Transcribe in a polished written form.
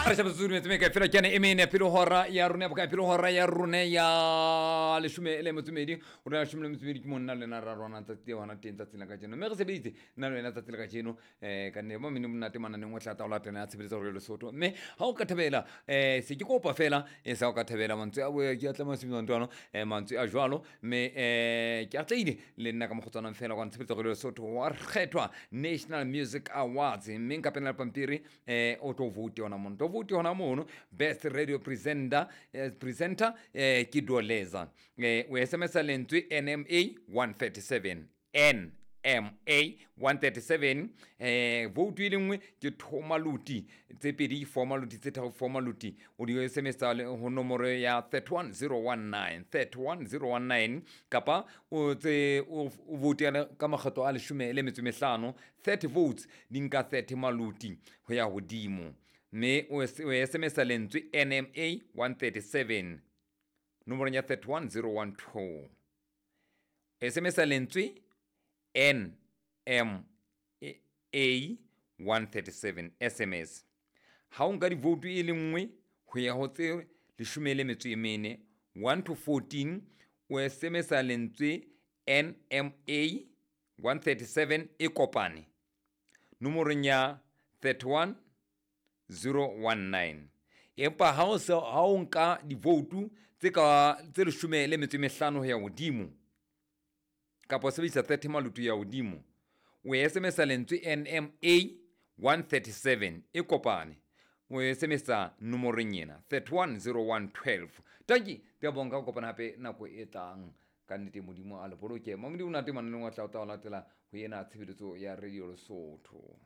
Re shebe tsotsi dumetse meka fela ke ane e mene pele hora ya rona ya bokae, pele hora ya rona ya leshome le metso e medi. O rona leshome le metso e medi ke monna le wena ra rona tsatsi le hona teng tsatsing la kajeno, mme re sebeditse nna le wena tsatsi la kajeno. Ka nne mo mene monate mananeng o tla tla o latela ya tshebeletso ya Lesotho. Mme ha o ka thabela, se ke kopa fela e sa o ka thabela mantswe a boya ke a tlameha sebetsa ntwana, mantswe a jwalo. Mme ke atlehile le nna ka mokgotsanang fela kwa tshebeletso ya Lesotho wa kgethwa National Music Awards, mme nka pena le pampiri, o tlo vote hona mono, tlo vote hona mono. Best radio presenter, presenter, ke Doleza. O SMS lentswe NMA 137, NMA 137. Vote e le nngwe ke thomaluti tse pedi, formaluti tse tharo, formaluti. O di SMS ho nomoro ya 31019, 31019, kapa o tse o vote ka makgetlo a leshome le metso e mehlano. 30 votes di nka 30 maluti ho ya hodimo. Mme o SMS lentswe NMA 137 nomorong ya 31012. SMS lentswe NMA 137 SMS. Ha o nka divoutu e le nngwe ho ya ho tse leshome le metso e mene, 1 to 14, o SMS lentswe NMA 137 e kopane nomorong ya 31019. Empa ha o se ha o nka divoutu tse ka tse leshome le metso e mehlano ho ya hodimo, kapa o sebedisa 30 maluti ya hodimo, o SMS lentswe NMA 137 e kopane, o SMS nomorong ena 310112. Tanki ke a bonka go kopana hape nako e tlang. Ka nnete Modimo a le boloke. Mamodi o nate mananeng wa tla o tla o latela ho ena tshebeletso ya Radio Lesotho.